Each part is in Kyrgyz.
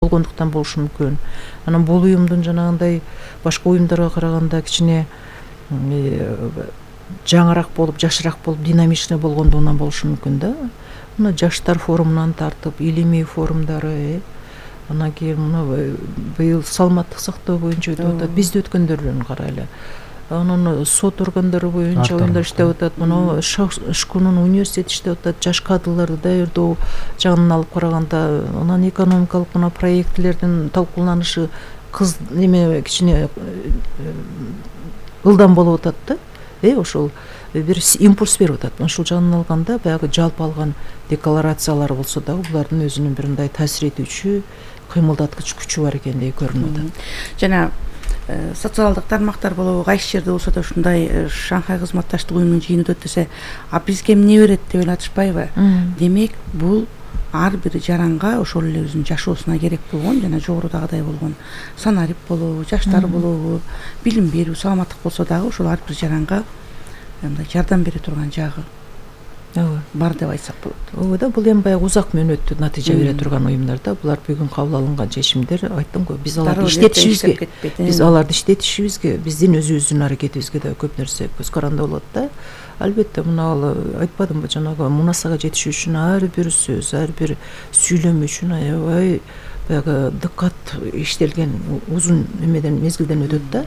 болгондуктан болушу мүмкүн. Анан бул уюмдун жанагындай башка уюмдарга караганда кичине жаңыраак болуп, жашыраак болуп, динамичный болгондугунан болушу мүмкүн да. Мына жаштар форумунан тартып, илимий форумдары, анан кийин мына быйыл саламаттык сактоо боюнча өтүп атат. Бизде өткөндөрүн карайлы. Анан сот органдары боюнча оюндар иштеп атат. Мына Шкунун университети иштеп атат. Жаш кадрларды даярдоо жагынан алып караганда, анан экономикалык мына проектлердин талкууланышы кичине ылдам болуп атат да. Ошол бир импульс берип атат. Ушул жагынан алганда баягы жалпы алган декларациялар болсо дагы булардын өзүнүн бир мындай таасир этүүчү, кыймылдаткыч күчү бар экендей көрүнүп атат. Жана социалдык тармактар болобу, кайсы жерде болсо да ушундай Шанхай кызматташтык уюмунун жыйыны өтөт десе, а бизге эмне берет деп ойлотушпайбы? Демек, бул ар бир жаранга ошол эле өзүнүн жашоосуна керек болгон жана жогорудагыдай болгон санарип болобу, жаштар болобу, билим берүү, саламаттык болсо дагы ошол ар бир жаранга мындай жардам бере турган жагы бар деп айтсак болот. Ооба да, бул эми баягы узак мөөнөттүү натыйжа бере турган уюмдар да. Булар бүгүн кабыл алынган чечимдер, айттым го, биз аларды иштетишибизге, биздин өзүбүздүн аракетибизге да көп нерсе көз каранды болот да. Албетте, мына айтпадымбы, жанагы мунасага жетишүү үчүн ар бир сөз, ар бир сүйлөм үчүн аябай баягы дыккат иштелген узун мезгилден өтөт да.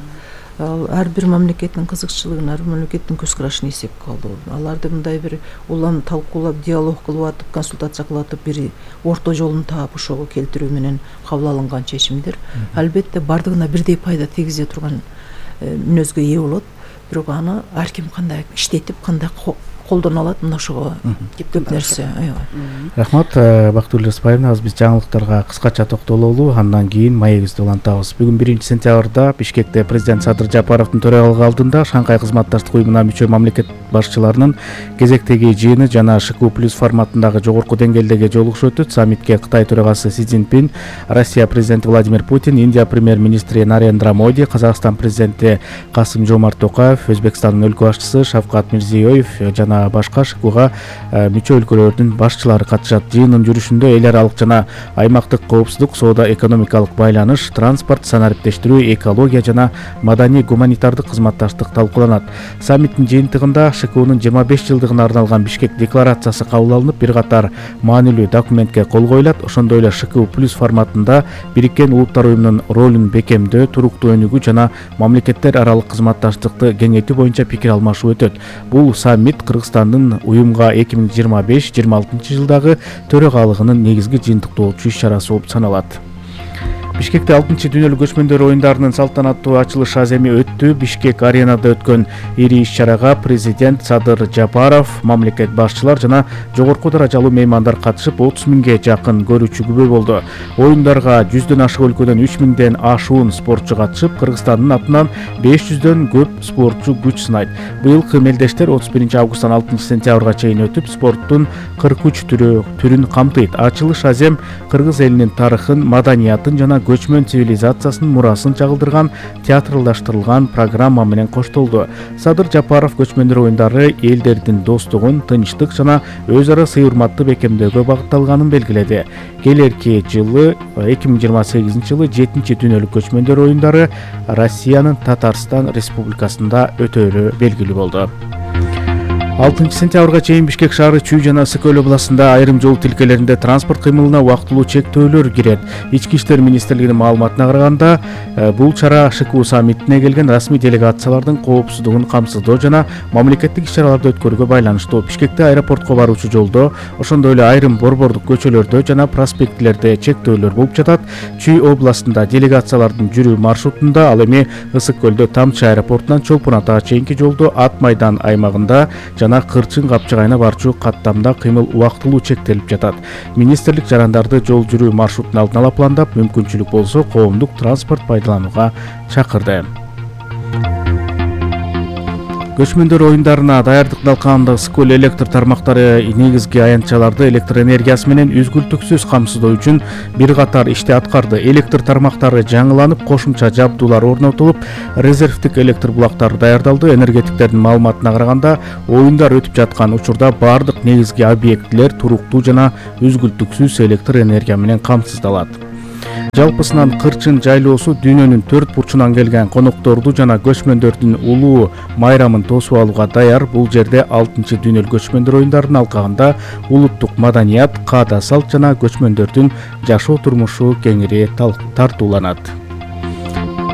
Ар бир мамлекеттин кызыкчылыгын, ар бир мамлекеттин көз карашын эсепке алуу, аларды мындай бир улам талкуулап, диалог кылып атып, консультация кылып атып, бир орто жолун таап ошого келтирүү менен кабыл алынган чечимдер албетте бардыгына бирдей пайда тийгизе турган мүнөзгө ээ болот. Бирок аны ар ким кандай иштетип, кандай колдоно алат, мына ошого көп нерсе. Рахмат, Бактыгүл Рыспаевна. Азыр биз жаңылыктарга кыскача токтололу, андан кийин маегибизди улантабыз. Бүгүн 1-сентябрда Бишкекте президент Садыр Жапаровдун төрагалыгы алдында Шанхай кызматташтык уюмуна мүчө мамлекет башчыларынын кезектеги жыйыны жана ШКУ+ форматындагы жогорку деңгээлдеги жолугушуу өтөт. Саммитке Кытай төрагасы Си Цзиньпин, Россия президенти Владимир Путин, Индия премьер-министри Нарендра Моди, Казакстан президенти Касым-Жомарт Токаев, Өзбекстандын өлкө башчысы Шавкат Мирзиёев жана башка ШКУга мүчө өлкөлөрдүн башчылары катышат. Жыйындын жүрүшүндө эл аралык жана аймактык коопсуздук, соода экономикалык байланыш, транспорт, санариптештирүү, экология жана маданий гуманитардык кызматташтык талкууланат. Саммиттин жыйынтыгында ШКУнун 25 жылдыгына арналган Бишкек декларациясы кабыл алынып, бир катар маанилүү документке кол коюлат. Ошондой эле ШКУ+ форматында Бириккен Улуттар уюмунун ролун бекемдөө, туруктуу өнүгүү жана мамлекеттер аралык кызматташтыкты кеңейтүү боюнча пикир алмашуу өтөт. Бул саммит Кыргызстандын уюмга 2025-26 жылдагы төрагалыгынын негизги жыйынтыктоочу иш-чарасы болуп саналат. Бишкекте 6-дүйнөлүк көчмөндөр оюндарынын салтанаттуу ачылыш аземи өттү. Бишкек аренада өткөн ири иш-чарага президент Садыр Жапаров, мамлекет башчылар жана жогорку даражалуу меймандар катышып, 30 миңге жакын көрүүчү күбө болду. Оюндарга 100дөн ашык өлкөдөн 3 миңден ашуун спортчу катышып, Кыргызстандын атынан 500дөн көп спортчу күч сынайт. Быйылкы мелдештер 31 августтан 6 сентябрга чейин өтүп, спорттун 43 түрүн камтыйт. Ачылыш азем кыргыз элинин тарыхын, маданиятын жана көчмөн цивилизациясынын мурасын чагылдырган театралдаштырылган программа менен коштолду. Садыр Жапаров көчмөндөр оюндары элдердин достугун, тынчтык жана өз ара сый-урматты бекемдөөгө багытталганын белгиледи. Келерки жылы 2028 жылы 7-дүйнөлүк көчмөндөр оюндары Россиянын Татарстан Республикасында өтөөлү белгилүү болду. 6 сентябрга чейин Бишкек шаары, Чүй жана Ысык-Көл областында айрым жол тилкелеринде транспорт кыймылына убактылуу чектөөлөр кирет. Ички иштер министрлигинин маалыматына караганда, бул чара ШКУ саммитине келген расмий делегациялардын коопсуздугун камсыздоо жана мамлекеттик иш-чараларды өткөрүүгө байланыштуу. Бишкекте аэропортко баруучу жолдо, ошондой эле айрым борбордук көчөлөрдө жана проспектлерде чектөөлөр болуп жатат. Чүй областында делегациялардын жүрүү маршрутунда, ал эми Ысык-Көлдө Тамчы аэропортунан Чолпон Атага чейинки жолдо Ат майдан аймагында жана Кырчын Капчыгайына барчу каттамда кыймыл убактылуу чектелип жатат. Министрлик жарандарды жол жүрүү маршрутун алдын ала пландап, мүмкүнчүлүк болсо коомдук транспорт пайдаланууга чакырды. Көчмөндөр оюндарына даярдык алкагында Ысык-Көл электр тармактары негизги аянтчаларды электр энергиясы менен үзгүлтүксүз камсыздоо үчүн бир катар ишти аткарды. Электр тармактары жаңыланып, кошумча жабдуулар орнотулуп, резервдик электр булактары даярдалды. Энергетиктердин маалыматына караганда, оюндар өтүп жаткан учурда бардык негизги объектилер туруктуу жана үзгүлтүксүз электр энергия менен камсыздалат. Жалпысынан кырчын жайлоосу дүйнөнүн 4 бурчунан келген конокторду жана көчмөндөрдүн улуу майрамын тосуп алууга даяр. Бул жерде 6-чы дүйнөлүк көчмөндөр оюндарынын алкагында улуттук маданият, каада салт жана көчмөндөрдүн жашоо турмушу кеңири тартууланат.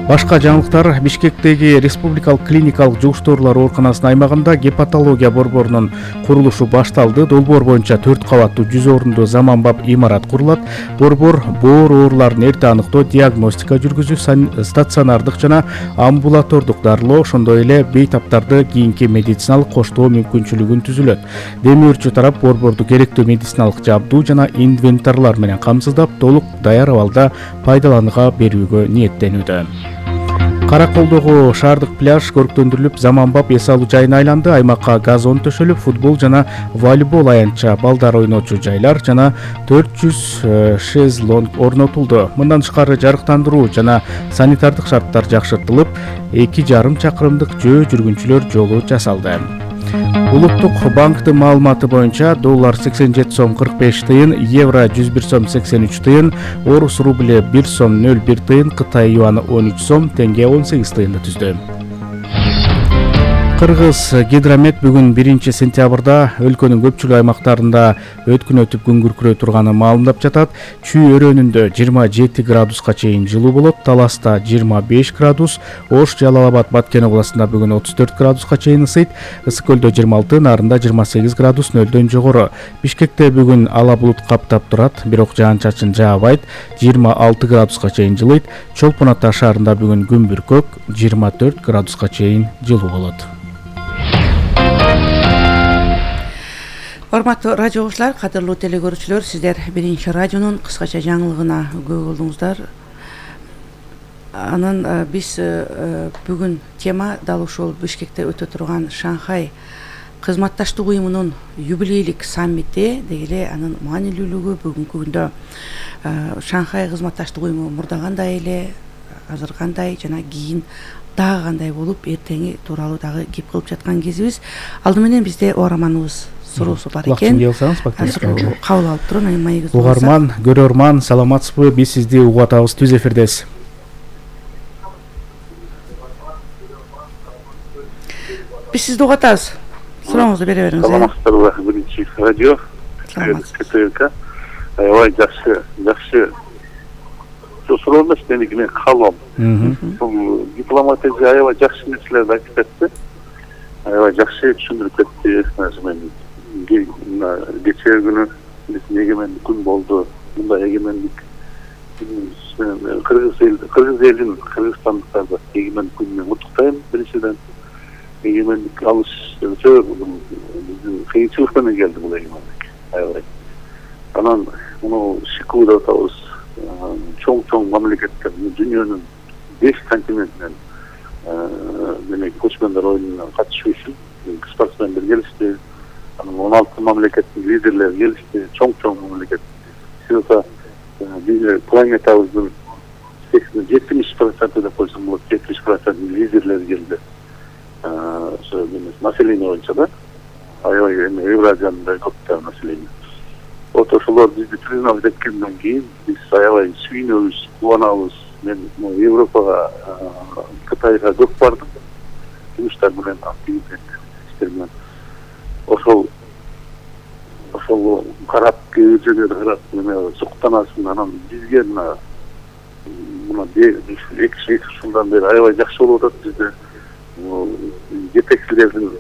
Башка жаңылыктар: Бишкектеги Республикалык клиникалык жугуштоолор ооруканасынын аймагында гепатология борборунун курулушу башталды. Долбоор боюнча 4 кабаттуу 100 орундуу заманбап имарат курулат. Борбор боор ооруларын эрте аныктоо, диагностика жүргүзүү, стационардык жана амбулатордук дарылоо, ошондой эле бейтаптарды кийинки медициналык коштоо мүмкүнчүлүгүн түзүлөт. Демир өрчү тарап борборду керектүү медициналык жабдуу жана инвентарлар менен камсыздап, толук даяр абалда пайдаланууга берүүгө ниеттенүүдө. Караколдогу шаардык пляж көрктөндүрүлүп, заманбап эс алуу жайына айланды. Аймакка газон төшөлүп, футбол жана волейбол аянтча, балдар ойночу жайлар жана 400 шезлонг орнотулду. Мындан тышкары жарыктандыруу жана санитардык шарттар жакшыртылып, 2,5 чакырымдык жөө жүргүнчүлөр жолу жасалды. Улуттук банктын маалыматы боюнча доллар 87 сом 45 тыйын, евро 101 сом 83 тыйын, орус рубль 1 сом 01 тыйын, Кытай юаны 13 сом, тенге 18 тыйынды түздү. Кыргыз гидромет бүгүн 1 сентябрда өлкөнүн көпчүлүк аймактарында өткүн өтүп күн күркүрөй турганын маалымдап жатат. Чүй өрөөнүндө 27 градуска чейин жылуу болот, Таласта 25 градус, Ош, Жалал Абад, Баткен областында бүгүн 34 градуска чейин ысыйт, Ысык көлдө 26, Нарында 28 градус нөлдөн жогору. Бишкекте бүгүн ала булут каптап турат, бирок жаан-чачын жаабайт, 26 градуска чейин жылыйт. Чолпон Ата шаарында бүгүн күн бүркөк, 24 градуска чейин жылуу болот. Урматтуу радио угуучулар, кадырлуу телекөрүүчүлөр, сиздер Биринчи радионун кыскача жаңылыгына күбө болдуңуздар. Анан биз бүгүн тема дал ушул Бишкекте өтө турган Шанхай кызматташтык уюмунун юбилейлик саммити деги эле анын маанилүүлүгү, бүгүнкү күндө Шанхай кызматташтык уюму мурдагандай эле, азыр кандай жана кийин дагы кандай болуп, эртеңи тууралуу дагы кеп кылып жаткан кезибиз. Алды менен бизде угарманыбыз суроосу бар экен. Кабыл алып турун, анан маегибизди. Угарман, көрөрман, саламатсызбы? Биз сизди угуп атабыз, түз эфирдесиз. Биз сизди угуп атабыз. Сурооңузду бере бериңиз. Саламатсыздарбы, Биринчи радио. КТРК. Аябай жакшы. Суроо эмес, меники мен калбам. Бул дипломатия аябай жакшы нерселерди айтып кетти. Аябай жакшы түшүндүрүп кетти. Мен кечээ күнү биздин эгемендик күн болду. Мындай эгемендик кыргыз элин, кыргызстандыктарды эгемендик күнү менен куттуктайм. Биринчиден эгемендик алыш биздин кыйынчылык менен келди бул эгемендик. Аябай. Анан муну шикүү деп атабыз. Чоң мамлекеттер, дүйнөнүн 5 континентинен демек көчмөндөр оюнуна катышуу үчүн спортсмендер келишти. Анан 16 мамлекеттин лидерлери келишти, чоң мамлекет. Сиоса планетабыздын 70% деп койсом болот, 70% лидерлери келди. Ошо население боюнча да. Аябай Евразияда көп население. Вот ошолор бизди признап эткенден кийин биз аябай сүйүнөбүз, кубанабыз. Мен Европага, Кытайга көп бардым. Жумуштар менен, активдик иштер менен. Ошол карап, кээ жөнөдө карап, суктанасың. Анан бизге мына 2 жылдан бери аябай жакшы болуп атат бизде. Жетекчилердин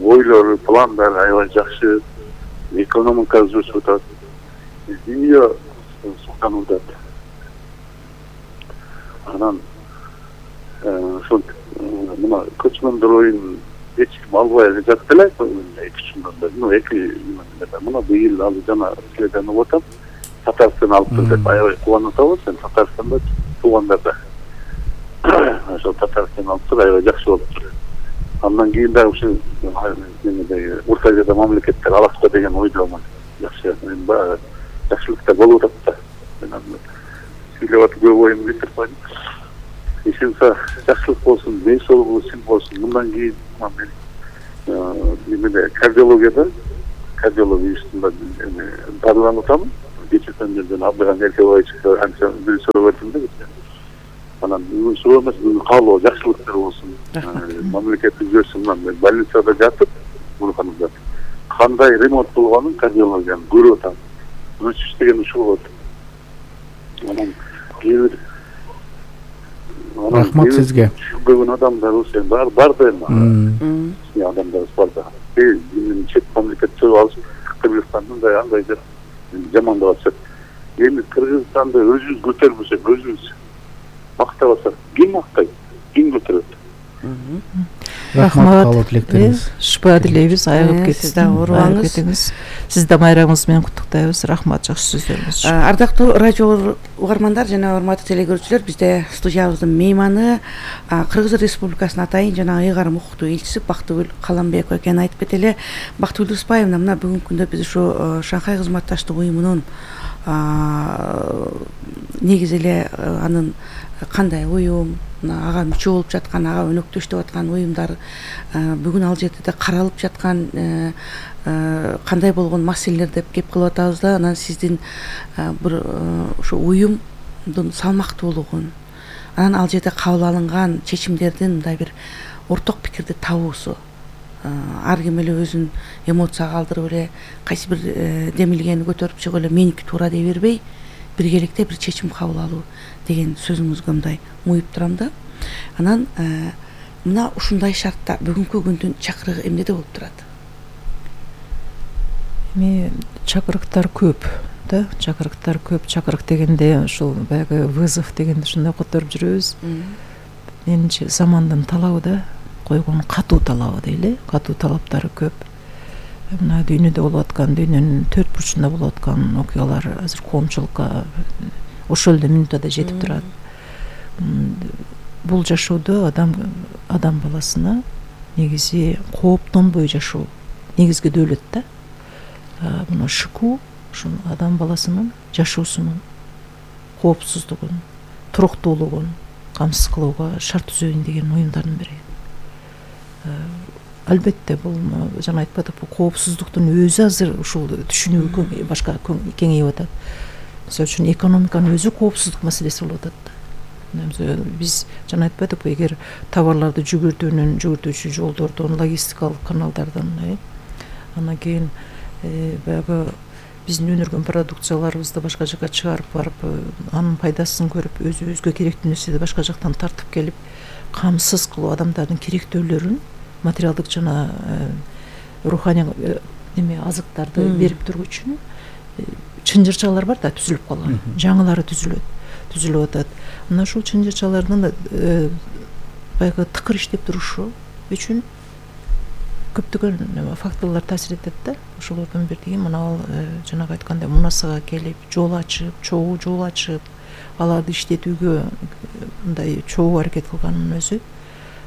ойлору, пландары аябай жакшы. Экономика өсүп атат. Дүйнө суктанып атат. Анан ошол мына көчмөндөр оюнун эч ким албай жатат эле 2 жылдан бери. Мына быйыл ал жана силерден угуп атам. Татарстан алып деп аябай кубанып атабыз. Татарстанда туугандарда. Ошол Татарстан алып аябай жакшы болуп. Андан кийин дагы ушу Орто Азияда мамлекеттер алакта деген ойдомун. Жакшы, баягы жакшылыктар болуп атат да. Сүйлөп атып көп оюн бүтүп ишинса жакшылык болсун, ден соолугу сил болсун. Мындан кийин мен кардиология институтунда дарыланып атам. кечиртен жерден Абдыган Эркебаевичке анча бир сурап өттүм да. Анан суроо эмес, каалоо жакшылыктар болсун. Мамлекет үзөсүнөн мен больницада жатып, Бурканымда кандай ремонт болгонун кардиологиянын көрүп атам. Өчүш деген ушул болот. Анан кээ бир рахмат сизге. Бүгүн адамдар сен бар да эми. Адамдар бар да. Чет мамлекет чыгып алып, Кыргызстандын да андай деп жамандап атышат. Эми Кыргызстанды өзүбүз көтөрбөсөк, өзүбүз мактабасак, ким мактайт, ким көтөрөт? Рахмат каалоо тилектериңиз. Шыпа тилейбиз, айыгып кетиңиз. Сиз да оорубаңыз. Сиз да майрамыңыз менен куттуктайбыз. Рахмат, жакшы сөздөрүңүз үчүн. Ардактуу радио угармандар жана урматтуу телегөрүүчүлөр, бизде студиябыздын мейманы Кыргыз Республикасынын атайын жана ыйгарым укуктуу элчиси Бактыгүл Каламбекова экенин айтып кетели. Бактыгүл Дуспаевна мына бүгүнкү күндө биз ушу Шанхай кызматташтык уюмунун негизи эле анын кандай уюм, ага мүчө болуп жаткан, ага өнөктөштүп аткан уюмдар бүгүн ал жерде каралып жаткан кандай болгон маселелер деп кеп кылып атабыз да. Анан сиздин бир ушу уюмдун салмактуулугун, анан ал жерде кабыл алынган чечимдердин мындай бир орток пикирди табуусу, ар ким эле өзүн эмоцияга калтырып эле кайсы бир демилгени көтөрүп чыгып эле меники туура дей бербей, биргеликте бир чечим кабыл алуу деген сөзүңүзгө мындай муюп турам да. Анан мына ушундай шартта бүгүнкү күндүн чакырыгы эмнеде болуп турат? Эми чакырыктар көп да, чакырыктар көп. Чакырык дегенде ушул баягы вызов дегенди ушундай которуп жүрөбүз. Менимче замандын талабы да, койгон катуу талабы дейли, катуу талаптары көп. Мына дүйнөдө болуп аткан, дүйнөнүн төрт бурчунда болуп аткан окуялар азыр коомчулукка ошол эле минутада жетип турат. Бул жашоодо адам баласына негизи кооптонбой жашоо негизги дөөлөт да. Мына шыку ушул адам баласынын жашоосунун коопсуздугун, туруктуулугун камсыз кылууга шарт түзөйүн деген уюмдардын бири. Албетте бул жана айтпадыкпы, коопсуздуктун өзү азыр ушул түшүнүү башка кеңейип атат. Мисалы үчүн экономиканын өзү коопсуздук маселеси болуп атат. Биз жана айтпадыкпы, эгер товарларды жүгүртүүчү жолдордон, логистикалык каналдардан, анан кийин баягы биздин өнүргөн продукцияларыбызды башка жака чыгарып барып, анын пайдасын көрүп, өзүбүзгө керектүү нерседи башка жактан тартып келип, камсыз кылуу адамдардын керектөөлөрүн, материалдык жана руханий азыктарды берип туруу үчүн чынжырчалар бар да, түзүлүп калган. Жаңылары түзүлүп атат. Мына ушул чынжырчалардын баягы тыкыр иштеп турушу үчүн көптөгөн факторлор таасир этет да. Ошолордун бирдиги мына жанагы айткандай мунасага келип, жол ачып, чогуу жол ачып, аларды иштетүүгө мындай чогуу аракет кылганын өзү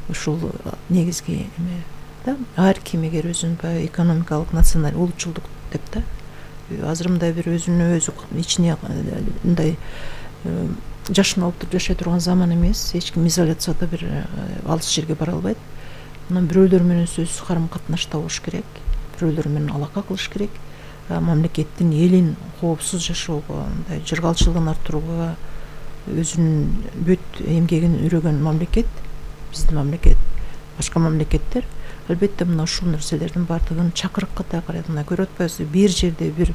ушул негизги эме да. Ар ким эгер өзүн баягы экономикалык, националдык улутчулдук деп да, азыр мындай бир өзүнө өзү ичине мындай жашын алып туруп жашай турган заман эмес. Эч ким изоляцияда бир алыс жерге бара албайт. Анан бирөөлөр менен сөзсүз карым катнашта болуш керек, бирөөлөр менен алака кылыш керек. Мамлекеттин, элин коопсуз жашоого, мындай жыргалчылыгын арттырууга өзүнүн бүт эмгегин үрөгөн мамлекет, биздин мамлекет, башка мамлекеттер албетте мына ушул нерселердин баардыгын чакырыкка да карайт. Мына көрүп атпайсызбы, бир жерде бир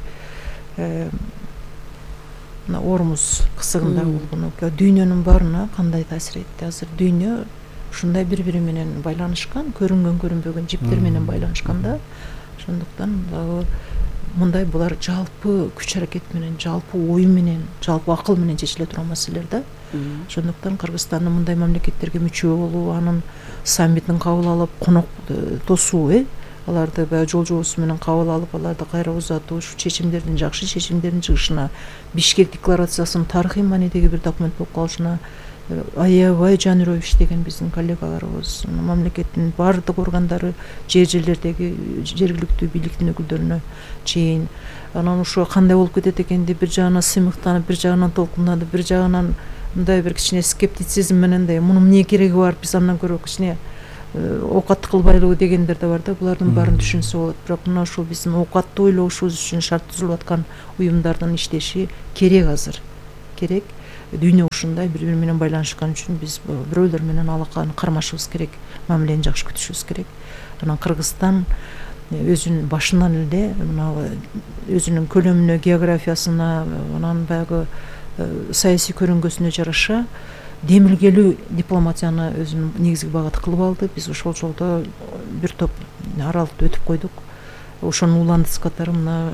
мына Ормуз кысыгында болгон окуя дүйнөнүн баарына кандай таасир этти? Азыр дүйнө ушундай бири-бири менен байланышкан, көрүнгөн көрүнбөгөн жиптер менен байланышканда, ошондуктан дагы мындай булар жалпы күч аракет менен, жалпы ой менен, жалпы акыл менен чечиле турган маселелер да. Ошондуктан Кыргызстандын мындай мамлекеттерге мүчө болуу, анын саммитин кабыл алып, конок тосуу, аларды баягы жол жобосу менен кабыл алып, аларды кайра узатуу, ушу чечимдердин, жакшы чечимдердин чыгышына, Бишкек декларациясынын тарыхый маанидеги бир документ болуп калышына аябай жан үрөп иштеген биздин коллегаларыбыз, мамлекеттин баардык органдары, жерлердеги жергиликтүү бийликтин өкүлдөрүнө чейин. Анан ушу кандай болуп кетет экен деп бир жагынан сыймыктанып, бир жагынан толкунданып, бир жагынан мындай бир кичине скептицизм менен да мунун эмне кереги бар, биз андан көрө кичине оокат кылбайлыбы дегендер да бар да, булардын баарын түшүнсө болот. Бирок мына ушул биздин оокатты ойлошубуз үчүн шарт түзүлүп аткан уюмдардын иштеши керек азыр. Керек. Дүйнө ушундай бири-бири менен байланышкан үчүн биз бирөөлөр менен алаканы кармашыбыз керек, мамилени жакшы күтүшүбүз керек. Анан Кыргызстан өзүнүн башынан эле мына өзүнүн көлөмүнө, географиясына, анан баягы саясий көрүнгөсүнө жараша демилгелүү дипломатияны өзүнүн негизги багыты кылып алды. Биз ошол жолдо бир топ аралыкты өтүп койдук. Ошонун уландысы катары мына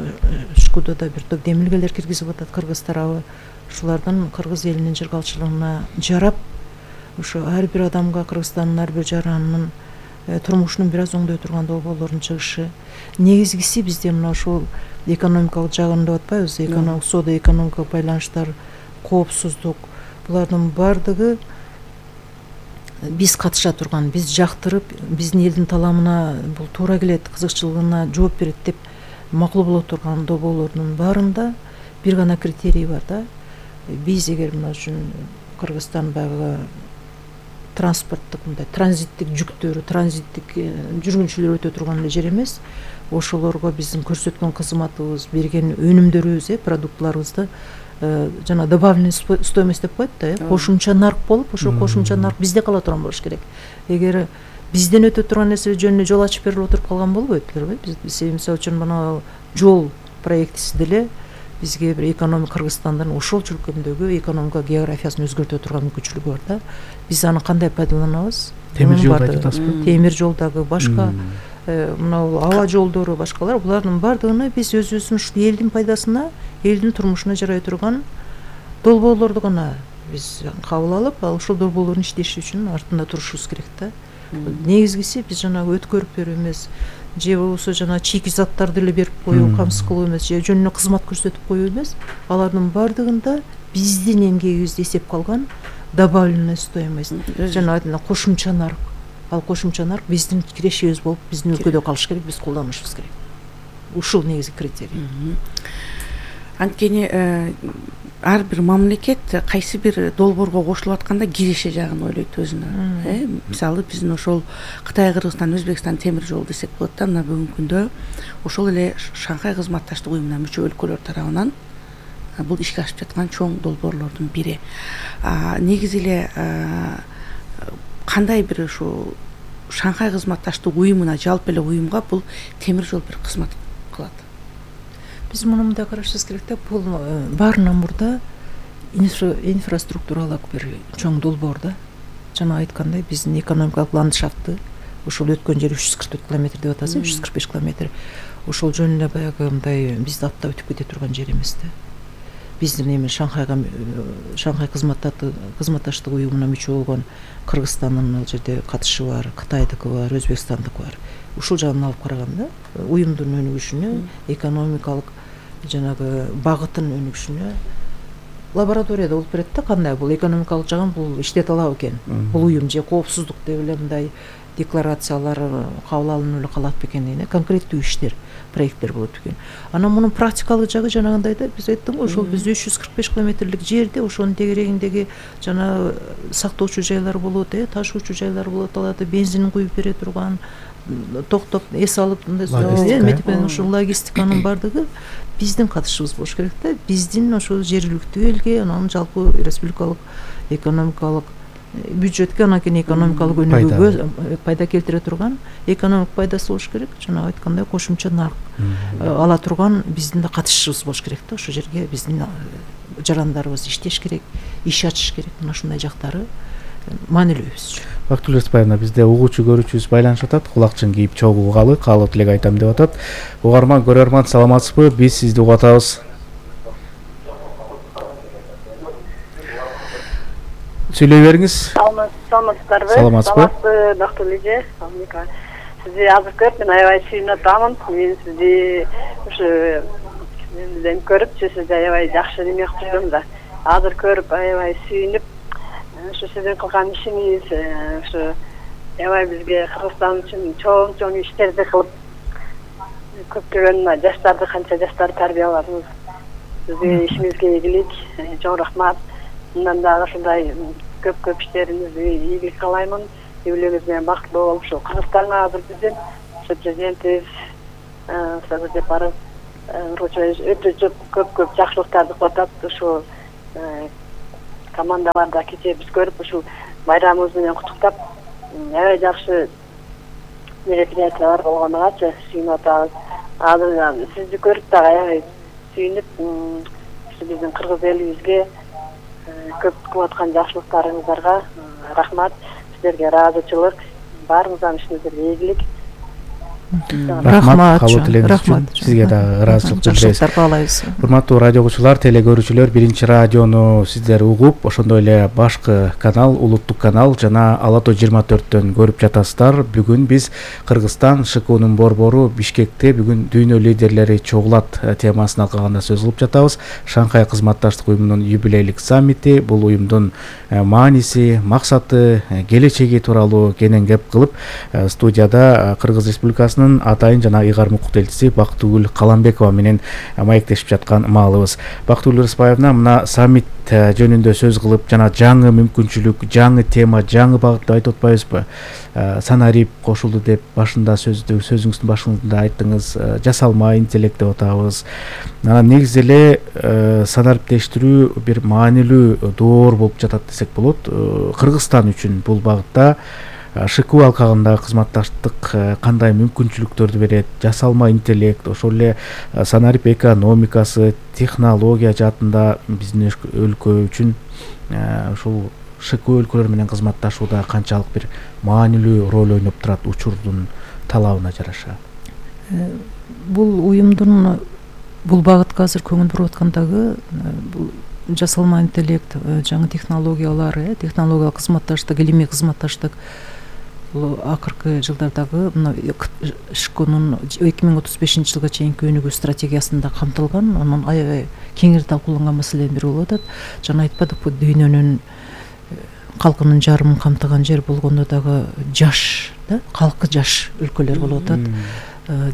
Шкудада бир топ демилгелер киргизип атат Кыргыз тарабы. Ушулардан Кыргыз элинин жыргалчылыгына жарап, ошо ар бир адамга, Кыргызстандын ар бир жаранынын турмушунун бир аз оңдой турган долбоорлордун чыгышы. Негизгиси бизде мына ошол экономикалык жагын деп атпайбыз, экономик соода, экономикалык байланыштар, коопсуздук, булардын баардыгы биз катыша турган, биз жактырып, биздин элдин таламына бул туура келет, кызыкчылыгына жооп берет деп макул боло турган долбоорлордун баарында бир гана критерий бар да. Биз эгер мына үчүн Кыргызстан баягы транспорттук мындай транзиттик жүктөрү, транзиттик жүргүнчүлөр өтө турган эле жер эмес, ошолорго биздин көрсөткөн кызматыбыз, берген өнүмдөрүбүз, продуктларыбызды жана добавленный стоимость деп коет да, кошумча нарк болуп, ошол кошумча нарк бизде кала турган болуш керек. Эгер бизден өтө турган нерсе жөнүнө жол ачып берип отуруп калган болбойт беле. Биз мисалы үчүн мына жол проектиси деле бизге бир экономик Кыргызстандын ошол чөлкөмдөгү экономика географиясын өзгөртө турган мүмкүнчүлүгү бар да. Биз аны кандай пайдаланабыз? Темир жолду айтып атасызбы? Темир жолдогу башка мына аба жолдору, башкалар, булардын баардыгына биз өзүбүздүн ушул элдин пайдасына, элдин турмушуна жарай турган долбоорлорду гана биз кабыл алып, ошол долбоорлордун иштеши үчүн артында турушубуз керек да. Негизгиси биз жанагы өткөрүп берүү эмес, же болбосо жана чийки заттарды эле берип коюу, камсыз кылуу эмес, же жөнүнө кызмат көрсөтүп коюу эмес, алардын баардыгында биздин эмгегибизди эсепке алган добавленная стоимость, жана кошумча нарк. Ал кошумча нарк биздин кирешибиз болуп, биздин өлкөдө калыш керек, биз колдонушубуз керек. Ушул негизги критерий. Анткени ар бир мамлекет кайсы бир долбоорго кошулуп атканда киреше жагын ойлойт өзүнө. Мисалы биздин ошол Кытай, Кыргызстан, Өзбекстан темир жол десек болот да, мына бүгүнкү күндө ошол эле Шанхай кызматташтык уюмуна мүчө өлкөлөр тарабынан бул ишке ашып жаткан чоң долбоорлордун бири. Негизи эле кандай бир ушу Шанхай кызматташтык уюмуна, жалпы эле уюмга бул темир жол бир кызмат кылат? Биз муну мындай карашыбыз керек да, бул баарынан мурда инфраструктуралык бир чоң долбоор да. Жана айткандай, биздин экономикалык ландшафтты, ошол өткөн жер 344 километр деп атасыз, 345 километр. Ошол жөн эле баягы мындай бизди аттап өтүп кете турган жер эмес да. Биздин эми Шанхай кызматташтык уюмуна мүчө болгон Кыргызстандын ал жерде катышы бар, Кытайдыкы бар, Өзбекстандыкы бар. Ушул жагын алып караганда, уюмдун өнүгүшүнө, экономикалык жанагы багытын өнүгүшүнө лабораторияда болуп берет да, кандай бул экономикалык жагын бул иштете алабы экен. Бул уюм же коопсуздук деп эле мындай декларациялар кабыл алынып эле калат бекен деген конкреттүү иштер, проекттер болот экен. Анан мунун практикалык жагы жанагындай да, биз айттым го, ошол биз 345 километрлик жерде ошонун тегерегиндеги жана сактоочу жайлар болот, ташуучу жайлар болот, аларды бензин куюп бере турган, токтоп эс алып мындай ушул логистиканын баардыгы биздин катышыбыз болуш керек да. Биздин ошол жергиликтүү элге, анан жалпы республикалык экономикалык бюджетке, анан кийин экономикалык өнүгүүгө пайда келтире турган экономик пайдасы болуш керек. Жана айткандай кошумча нарк ала турган биздин да катышыбыз болуш керек да. Ошол жерге биздин жарандарыбыз иштеш керек, иш ачыш керек. Мына ушундай жактары маанилүү биз үчүн. Бактыгүл Рыспаевна, бизде угуучу көрүүчүбүз байланышып атат. Кулакчын кийип чогуу угалы, каалоо тилек айтам деп атат. Угарман, көрөрман, саламатсызбы? Биз сизди угуп атабыз. Сүйлөй бериңиз. Саламатсыздарбы? Саламатсызбы, Бактыгүл эже. Сизди азыр көрүп, мен аябай сүйүнүп атамын. Мен сизди ушу сизден көрүп, сиз аябай жакшы неме кылып жүргөм да. Азыр көрүп аябай сүйүнүп, ушу сиздин кылган ишиңиз ушу аябай бизге Кыргызстан үчүн чоң иштерди кылып, көптөгөн жаштарды, канча жаштарды тарбияладыңыз. Сизге ишиңизге ийгилик, чоң рахмат. Мындан дагы ушундай көп иштериңизге ийгилик каалаймын. юбилейибиз менен бактылуу болуп ушул Кыргызстанга азыр биздин ошо президентибиз Садыр Жапаров өтө көп жакшылыктарды кылып атат. Ушул командаларда кечээ биз көрүп ушул байрамыбыз менен куттуктап аябай жакшы мероприятиялар болгонугачы сүйүнүп атабыз. Азыр сизди көрүп дагы аябай сүйүнүп биздин кыргыз элибизге көп кылып аткан жакшылыктарыңыздарга рахмат. Сиздерге ыраазычылык, баарыңыздын ишиңиздерге ийгилик. Рахмат кабыл тилегиңиз үчүн сизге дагы ыраазычылык билдиребиз. Жакшылыктар каалайбыз. Урматтуу радио угуучулар, теле көрүүчүлөр, биринчи радиону сиздер угуп, ошондой эле башкы канал, улуттук канал жана Ала Тоо 24-төн көрүп жатасыздар. Бүгүн биз Кыргызстан ШКУнун борбору Бишкекте бүгүн дүйнө лидерлери чогулат темасын алкаганда сөз кылып жатабыз. Шанхай кызматташтык уюмунун юбилейлик саммити, бул уюмдун мааниси, максаты, келечеги тууралуу кенен кеп кылып, студияда Кыргыз Республикасынын атайын жана ыйгарым укук элчиси Бактыгүл Каламбекова менен маектешип жаткан маалыбыз. Бактыгүл Рыспаевна мына саммит жөнүндө сөз кылып, жана жаңы мүмкүнчүлүк, жаңы тема, жаңы багыт деп айтып атпайбызбы? Санарип кошулду деп башында сөзүңүздүн башында айттыңыз. Жасалма интеллект деп атабыз. Негизи эле санариптештирүү бир маанилүү доор болуп жатат десек болот. Кыргызстан үчүн бул багытта ШКУ алкагында кызматташтык кандай мүмкүнчүлүктөрдү берет? Жасалма интеллект, ошол эле санарип экономикасы, технология жаатында биздин өлкө үчүн ушул ШКУ өлкөлөр менен кызматташууда канчалык бир маанилүү роль ойноп турат учурдун талабына жараша? Бул уюмдун бул багытка азыр көңүл буруп аткандагы бул жасалма интеллект, жаңы технологиялар, технологиялык кызматташтык, илимий кызматташтык бул акыркы жылдардагы мына ШКУнун 2035 жылга чейинки өнүгүү стратегиясында камтылган, анын аябай кеңири талкууланган маселенин бири болуп атат. Жана айтпадыкпы, дүйнөнүн калкынын жарымын камтыган жер болгондо дагы жаш, калкы жаш өлкөлөр болуп атат.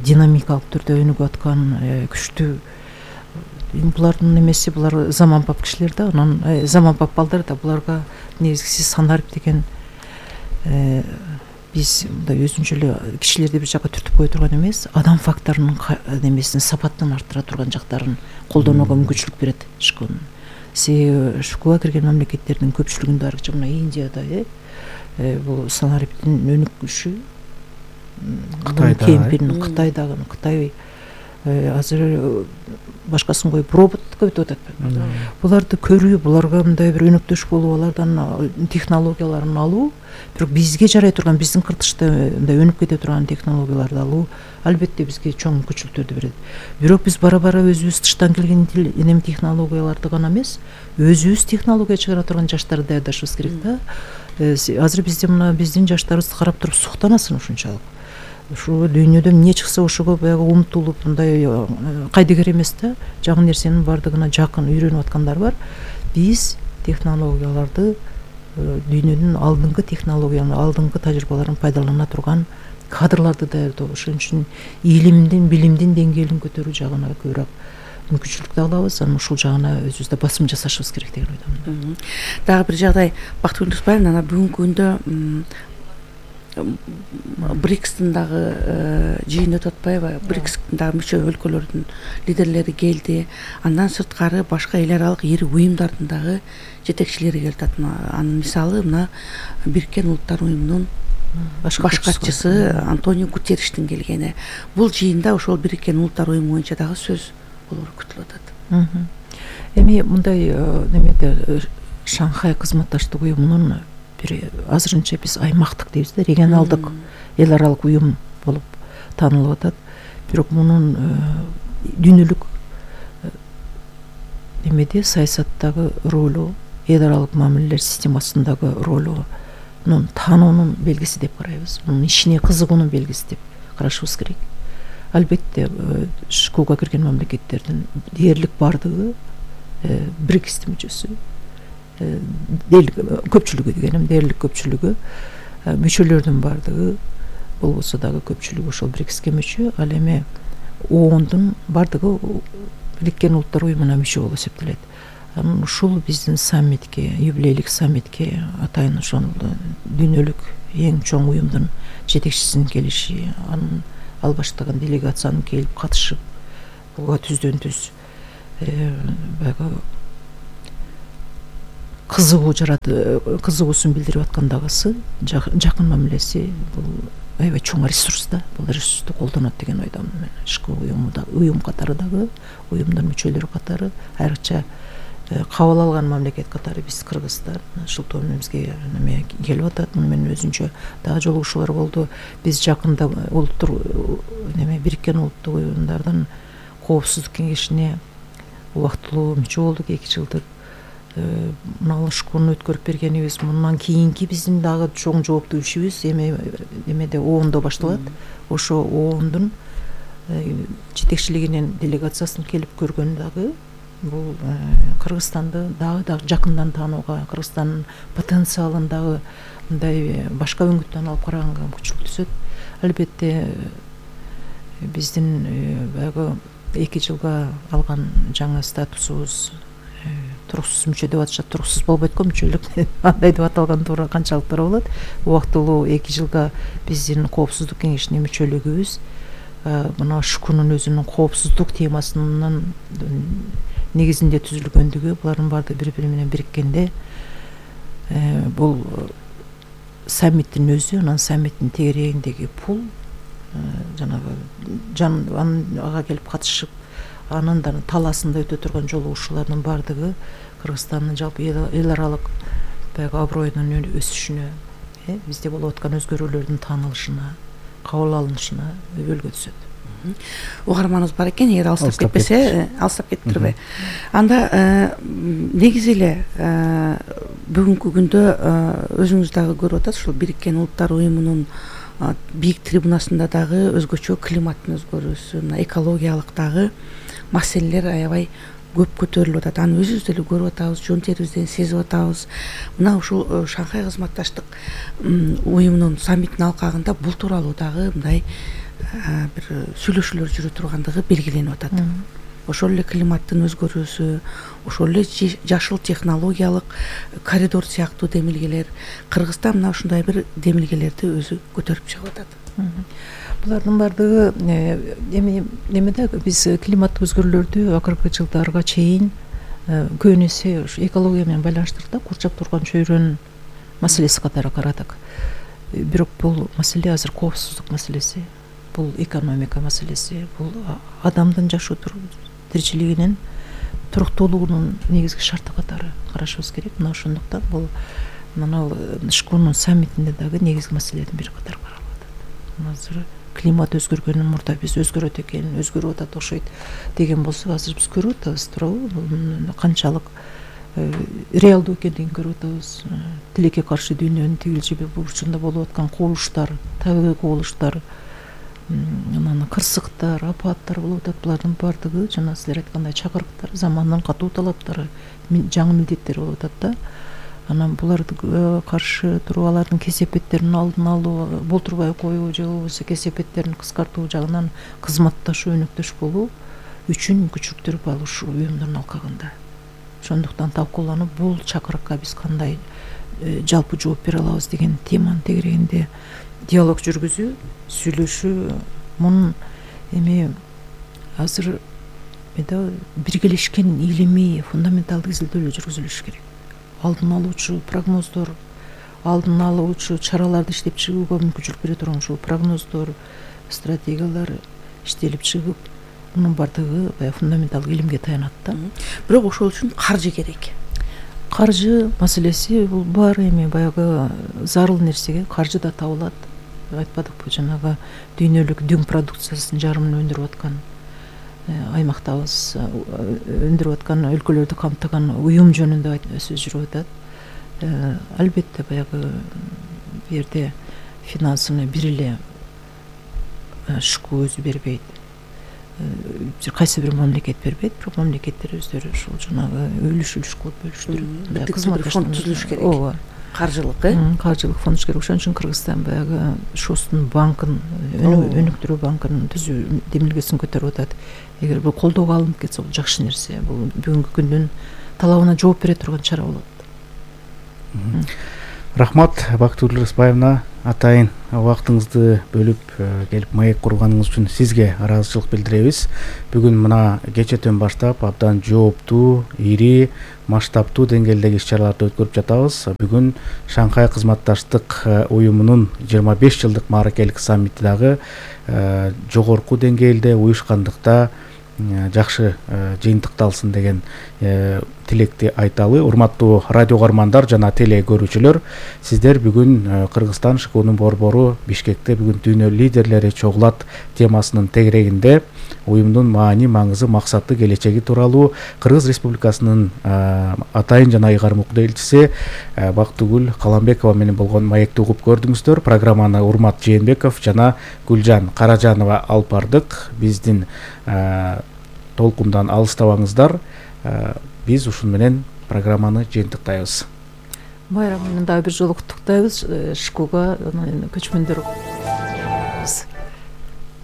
Динамикалык түрдө өнүгүп аткан күчтүү булардын эмеси, булар заманбап кишилер да, анан заманбап балдар да, буларга негизгиси санарип деген биз мындай өзүнчө эле кишилерди бир жакка түртүп кое турган эмес, адам факторунун немесин, сапатын арттыра турган жактарын колдонууга мүмкүнчүлүк берет ШКУнун. Себеби ШКУга кирген мамлекеттердин көпчүлүгүндө аркы мына Индияда бул санариптин өнүкүшү, Кытайда, Кытайдагы, Кытай азыр башкасын коюп роботко өтүп атат. Буларды көрүү, буларга мындай бир өнөктөш болуу, алардан технологияларын алуу, бирок бизге жарай турган, биздин кыртышта мындай өнүп кете турган технологияларды алуу албетте бизге чоң мүмкүнчүлүктөрдү берет. Бирок биз бара-бара өзүбүз тыштан келген эми технологияларды гана эмес, өзүбүз технология чыгара турган жаштарды даярдашыбыз керек да. Азыр бизде мына биздин жаштарыбызды карап туруп суктанасың ушунчалык. Ушу дүйнөдө эмне чыкса ошого баягы умтулуп, мындай кайдыгер эмес да, жаңы нерсенин бардыгына жакын үйрөнүп аткандар бар. Биз технологияларды, дүйнөнүн алдыңкы технологияларын, алдыңкы тажрыйбаларын пайдалана турган кадрларды даярдоо, ошон үчүн илимдин, билимдин деңгээлин көтөрүү жагына көбүрөөк мүмкүнчүлүк алабыз. Анан ушул жагына өзүбүздө басым жасашыбыз керек деген ойдомун. Дагы бир жагдай, Бактыгүл Рыспаевна, бүгүнкү күндө БРИКСтин дагы жыйыны өтүп атпайбы? БРИКСтин дагы мүчө өлкөлөрдүн лидерлери келди. Андан сырткары башка эл аралык ири уюмдардын дагы жетекчилери келип атат. Анын мисалы мына Бириккен Улуттар уюмунун баш катчысы Антонио Гутерриштин келгени. Бул жыйында ошол Бириккен Улуттар уюму боюнча дагы сөз болор күтүлүп атат. Эми мындай немеде Шанхай кызматташтык уюмунун азырынча биз аймактык дейбиз да, регионалдык эл аралык уюм болуп таанылып атат. Бирок мунун дүйнөлүк немеде саясаттагы ролу, эл аралык мамилелер системасындагы ролу таануунун белгиси деп карайбыз. Мунун ишине кызыгуунун белгиси деп карашыбыз керек. Албетте ШКУга кирген мамлекеттердин дээрлик бардыгы БРИКСтин мүчөсү, көпчүлүгү дегеним, дээрлик көпчүлүгү, мүчөлөрдүн бардыгы болбосо дагы көпчүлүгү ошол БРИКСке мүчө. Ал эми ООНдун бардыгы Бириккен Улуттар уюмуна мүчө болуп эсептелет. Ушул биздин саммитке, юбилейлик саммитке атайын ошол дүйнөлүк эң чоң уюмдун жетекчисинин келиши, ал баштаган делегациянын келип катышып буга түздөн түз баягы кызыгуусун билдирип аткандагысы жакын мамилеси бул аябай чоң ресурс да. Бул ресурсту колдонот деген ойдомун мен. Ишки уюм катары дагы, уюмдун мүчөлөрү катары, айрыкча кабыл алган мамлекет катары биз Кыргызстан ушул бизге неме келип атат. Муну менен өзүнчө дагы жолугушуулар болду. Биз жакында Бириккен Улуттук Уюмдардын коопсуздук кеңешине убактылуу мүчө болдук, 2 жылдык. Мына ушкуну өткөрүп бергенибиз мындан кийинки биздин дагы чоң жооптуу ишибиз эмеде ООНдо башталат. Ошо ООНдун жетекчилигинин делегациясын келип көргөн дагы бул Кыргызстанды дагы жакындан таанууга, Кыргызстандын потенциалын дагы мындай башка үңүттөн алып караганга мүмкүнчүлүк түзөт. Албетте биздин баягы 2 жылга алган жаңы статусубуз туруксуз мүчө деп атышат. Туруксуз болбойт го мүчөлүк. Андай деп аталган туура канчалык туура болот? Убактылуу 2 жылга биздин коопсуздук кеңешине мүчөлүгүбүз мына ШКУнун өзүнүн коопсуздук темасынын негизинде түзүлгөндүгү, булардын баардыгы бири-бири менен бириккенде бул саммиттин өзү, анан саммиттин тегерегиндеги пул жанагы ага келип катышып анын да талаасында өтө турган жолугушуулардын баардыгы Кыргызстандын жалпы эл аралык баягы аброюнун өсүшүнө, бизде болуп аткан өзгөрүүлөрдүн таанылышына, кабыл алынышына өбөлгө түзөт. Угарманыбыз бар экен, эгер алыстап кетпесе, алыстап кетиптирби? Анда негизи эле бүгүнкү күндө өзүңүз дагы көрүп атасыз, ушул Бириккен Улуттар Уюмунун бийик трибунасында дагы өзгөчө климаттын өзгөрүүсү, мына экологиялык дагы маселелер аябай көп көтөрүлүп атат. Аны өзүбүз деле көрүп атабыз, жон терибизден сезип атабыз. Мына ушул Шанхай кызматташтык уюмунун саммитинин алкагында бул тууралуу дагы мындай бир сүйлөшүүлөр жүрө тургандыгы белгиленип атат. Ошол эле климаттын өзгөрүүсү, ошол эле жашыл технологиялык коридор сыяктуу демилгелер, Кыргызстан мына ушундай бир демилгелерди өзү көтөрүп чыгып атат. Булардын баардыгы эмеде биз климаттык өзгөрүүлөрдү акыркы жылдарга чейин көбүн эсе ушу экология менен байланыштырып курчап турган чөйрөнүн маселеси катары карадык. Бирок бул маселе азыр коопсуздук маселеси, бул экономика маселеси, бул адамдын жашоо тиричилигинин туруктуулугунун негизги шарты катары карашыбыз керек. Мына ошондуктан бул мына ШКУнун саммитинде дагы негизги маселелердин бири катары каралып атат. Азыр климат өзгөргөнүн мурда биз өзгөрөт экен, өзгөрүп атат окшойт деген болсок, азыр биз көрүп атабыз туурабы? Бул канчалык реалдуу экендигин көрүп атабыз. Тилекке каршы дүйнөнүн тигил жеби бурчунда болуп аткан кубулуштар, табигый кубулуштар, анан кырсыктар, апаттар болуп атат. Булардын баардыгы жана силер айткандай чакырыктар, замандын катуу талаптары, жаңы милдеттер болуп атат да. Анан буларга каршы туруп алардын кесепеттерин алдын алуу, болтурбай коюу же болбосо кесепеттерин кыскартуу жагынан кызматташуу, өнөктөш болуу үчүн мүмкүнчүлүктөр бар ушул уюмдун алкагында. Ошондуктан талкууланып, бул чакырыкка биз кандай жалпы жооп бере алабыз деген теманын тегерегинде диалог жүргүзүү, сүйлөшүү, мунун азыр биргелешкен илимий фундаменталдык изилдөөлөр жүргүзүлүш керек. Алдын алуучу прогноздор, алдын алуучу чараларды иштеп чыгууга мүмкүнчүлүк бере турган ушул прогноздор, стратегиялар иштелип чыгып, мунун баардыгы фундаменталдык илимге таянат да. Бирок ошол үчүн каржы керек. Каржы маселеси бул бар, баягы зарыл нерсеге каржы да табылат. Айтпадыкпы, жанагы дүйнөлүк дүң продукциясынын жарымын өндүрүп аткан аймактабыз, өндүрүп аткан өлкөлөрдү камтыган уюм жөнүндө сөз жүрүп атат. Албетте баягы бу жерде финансыны бир эле ШКУ өзү бербейт. Кайсы бир мамлекет бербейт, бирок мамлекеттер өздөрү ушул жанагы үлүш кылып бөлүштүрүп фонд түзүлүш керек. Ооба. Каржылык, каржылык фонд керек. Ошон үчүн Кыргызстан баягы ШОСтун банкын, өнүктүрүү банкынын түзүү демилгесин көтөрүп атат. Эгер бул колдоого алынып кетсе, бул жакшы нерсе. Бул бүгүнкү күндүн талабына жооп бере турган чара болот. Рахмат, Бактыгүл Рыспаевна. атайын убактыңызды бөлүп келип маек курганыңыз үчүн сизге ыраазычылык билдиребиз. Бүгүн мына кечетен баштап абдан жооптуу, ири, масштабтуу деңгээлдеги иш-чараларды өткөрүп жатабыз. Бүгүн Шанхай кызматташтык уюмунун 25 жылдык мааракелик саммити дагы жогорку деңгээлде уюшкандыкта жакшы жыйынтыкталсын деген тилекти айталы. Урматтуу радио каармандар жана теле көрүүчүлөр, сиздер бүгүн Кыргызстан ШКУнун борбору Бишкекте бүгүн дүйнө лидерлери чогулат темасынын тегерегинде уюмдун маани, маңызы, максаты, келечеги тууралуу Кыргыз Республикасынын атайын жана ыйгарым элчиси Бактыгүл Каламбекова менен болгон маекти угуп көрдүңүздөр. Программаны Урмат Жээнбеков жана Гүлжан Каражанова алып бардык. Биздин толкундан алыстабаңыздар. Биз ушун менен программаны жыйынтыктайбыз. Байрам менен дагы бир жолу куттуктайбыз. ШКУга көчмөндөр